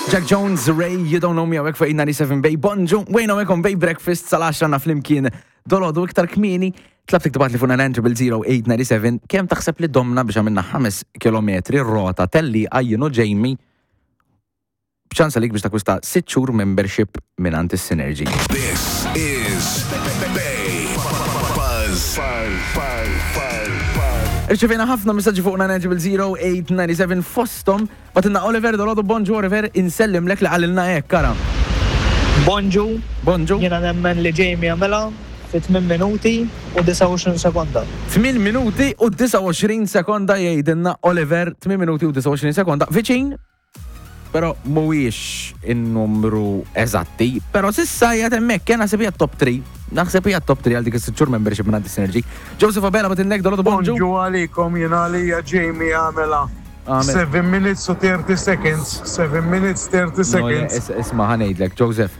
Jack Jones, Ray, You Don't Know Me hawnhekk fuq 97 Bay. Bonġu, wejn hawnhekk on Bay Breakfast sal-10 na flimkien dolodu iktar kmieni. Tlabtek tibgħatli fuq 900 kemm taħseb li domna biex għamilna 5 km rota tellieqa jien u Jamie b'ċans għalik biex takwista 6 xhur membership mingħand is-Synergy. This is Bay Buzz. Irċevejna ħafna messaġġi fuq 900 fostom bagħtilna Oliver dolodu bonġu Oliver insellimlek li qalilna hekk ara. Bonġu. Bonġu. Jiena nemmen li Jamie għamilha fi 8 minuti u 29 sekonda. 8 minuti u 29 sekonda jgħidilna Oliver, 8 minuti u 29 sekonda. Viċin, pero mhuwiex in-numru eżatti, pero s'issa qiegħed hemmhekk, eh, naħseb hija top 3. Naħseb hija top 3 għal dik is-sitt xhur membership minn Synergy. Joseph Abela bagħtilna dolodu bonġu. Bonġu għalikom jiena għalija Jamie għamela. Għamel. 7 minutes u 30 seconds. 7 minutes 30 No, seconds. is- Isma' ħa ngħidlek, Joseph.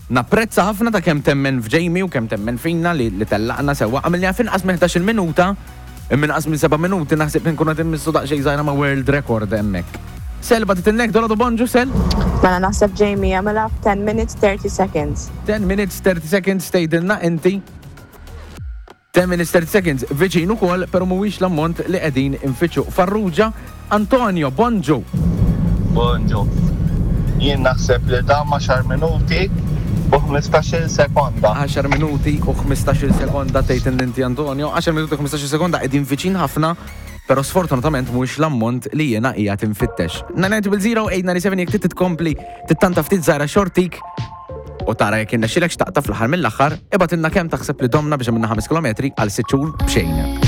Napprezza ħafna ta' kemm temmen f'Jamie u kemm temmen fina li, li tellaqna sewwa. Għamilna f'inqas minn 11 minuta, minn inqas minn 7 minuti naħseb nkunu qed immissu daqsxejn żgħira ma' world record hemmhekk. Sel bagħtitilna dolodu bonġu Sel. Mela naħseb Jamie għamilha f'10 minutes 30 seconds. 10 minutes 30 seconds tgħidilna inti. 10 minutes 30 seconds viċin ukoll, pero mhuwiex l-ammont li qegħdin infittxu. Farrugia, Antonio, bonġu. Bonġu. Jien naħseb li dam 10 minuti u 15 sekonda. 10 minuti u 15 sekonda tgħid inti Antonio, 10 minuti u 15 sekonda qegħdin viċin ħafna, pero sfortunatament mhuwiex l-ammont li jiena qiegħed infittex. 990 jekk trid tkompli tittanta ftit żgħira xortik u tara jekk irnexxilek x'taqta' fl-aħħar mill-aħħar, ibgħatilna kemm taħseb li domna biex għamilna 5 km għal 6 xhur b'xejn.